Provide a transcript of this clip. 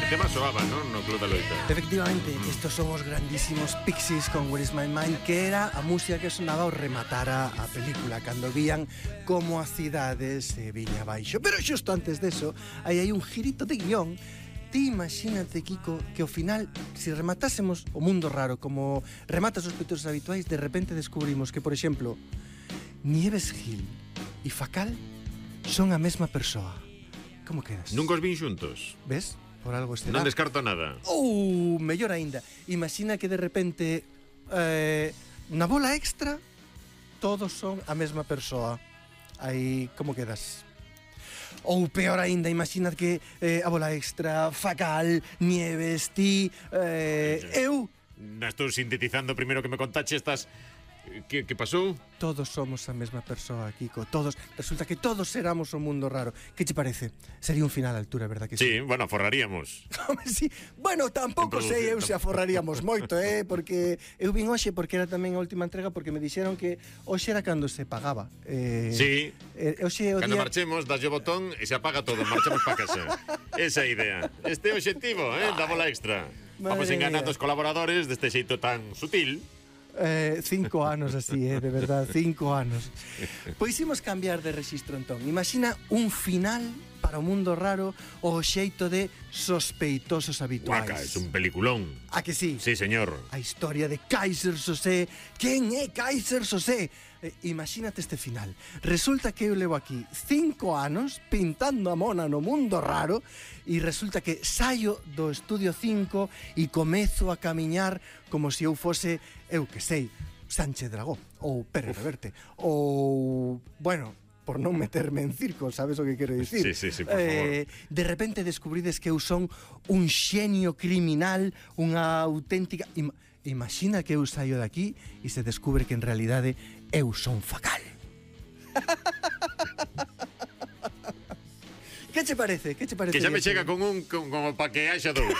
tema soaba, non? No Club da Loita. Efectivamente, estos son os grandísimos Pixies con Where is my mind, que era a música que sonaba ao rematar a película, cando vían como a cidade se viña abaixo. Pero xusto antes deso, aí hai un girito de guión. Ti imagínate, Kiko, que ao final, se rematásemos o mundo raro como rematas os sospeitosos habituais, de repente descubrimos que, por exemplo, Nieves Gil e Facal son a mesma persoa. Como quedas? Nunca os vin xuntos. Ves? Por algo este Non descarto nada. Mellor aínda. Imagina que de repente na bola extra todos son a mesma persoa. Aí, como quedas? Ou peor aínda, imagina que a bola extra, Facal, Nieves, ti, eu... Estou sintetizando primeiro que me contache estas... Que pasou? Todos somos a mesma persoa, Kiko. Todos. Resulta que todos éramos o mundo raro. Que che parece? Sería un final a altura, verdad que sí? Sí, bueno, aforraríamos. Sí. Bueno, tampouco sei eu se aforraríamos moito, porque eu vin hoxe porque era tamén a última entrega, porque me dixeron que hoxe era cando se pagaba. Sí. Hoxe o Cando día... marchemos, daslle o botón e se apaga todo, marchamos para casa. Esa é a idea. Este é o obxectivo, da bola extra. Vamos enganando os colaboradores deste xeito tan sutil. 5 anos así, de verdad, 5 anos. Pois imos cambiar de rexistro entón. Imagina un final para o mundo raro o xeito de sospeitosos habituais. Guaca, é un peliculón. A que sí? Sí, señor. A historia de Kaiser Sosé. Quen é Kaiser Sosé? Imagínate este final. Resulta que eu levo aquí 5 anos pintando a mona no mundo raro e resulta que saio do estudio 5 e comezo a camiñar como se eu fose, eu que sei, Sánchez Dragó ou Pérez Reverte ou, bueno, por non meterme en circo, sabes o que quero dicir? Sí, por favor. De repente descubrides que eu son un xenio criminal, unha auténtica... Imagina que eu saio de aquí e se descubre que en realidade eu son Facal. Que che parece? Que xa me chega con un como para que haxa dous.